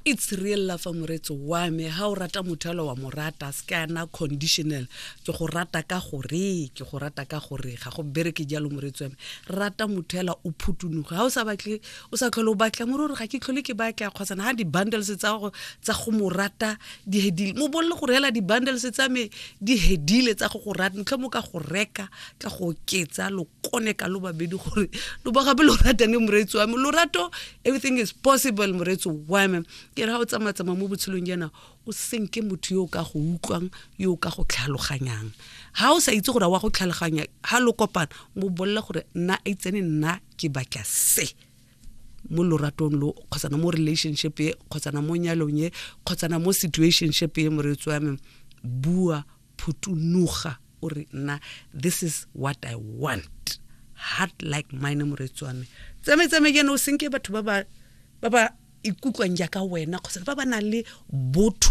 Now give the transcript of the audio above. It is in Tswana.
It's real love, moretso wa me. Ha o rata motho alo wa mo rata, se ka na conditional. Ke go rata ka gore, ke go rata ka gore, ga go bereke jalo, moretso wa me. Rata motho ela o phutunoge. Ha o sa batle, o sa tlhole o batla, more gore ga ke tlhole ke batla, kgotsana ha di-bundles tsa go tsa go mo rata di hedile, mo bolele gore hela di-bundles tsa me di hedile tsa go go rata, ntlho mo ka go reka ka go oketsa lo kone ka lo babedi gore lo ba gape lo ratane, moreetsi wa me. Lorato, everything is possible, moreetsi wa me. Ke re ga o tsamaya-tsamaya mo botshelong jaana, o senke motho yo o ka go utlwang, yo o ka go tlhaloganyang. Ga o sa itse gore wa go tlhaloganya, ga lo kopana, mo bolela gore nna a itsene, nna ke batla se mo loratong lo, kgotsana mo relationship e, kgotsana mo nyalong e, kgotsana mo situationship e. Moreetsi wa me, bua, phutunoga, o re nna this is what I want, heart like mine. Moreetsi wa me, tsame-tsame jaana, o senke batho ba ba ikutlwang jaaka wena, kgotsa ba ba nang le botho.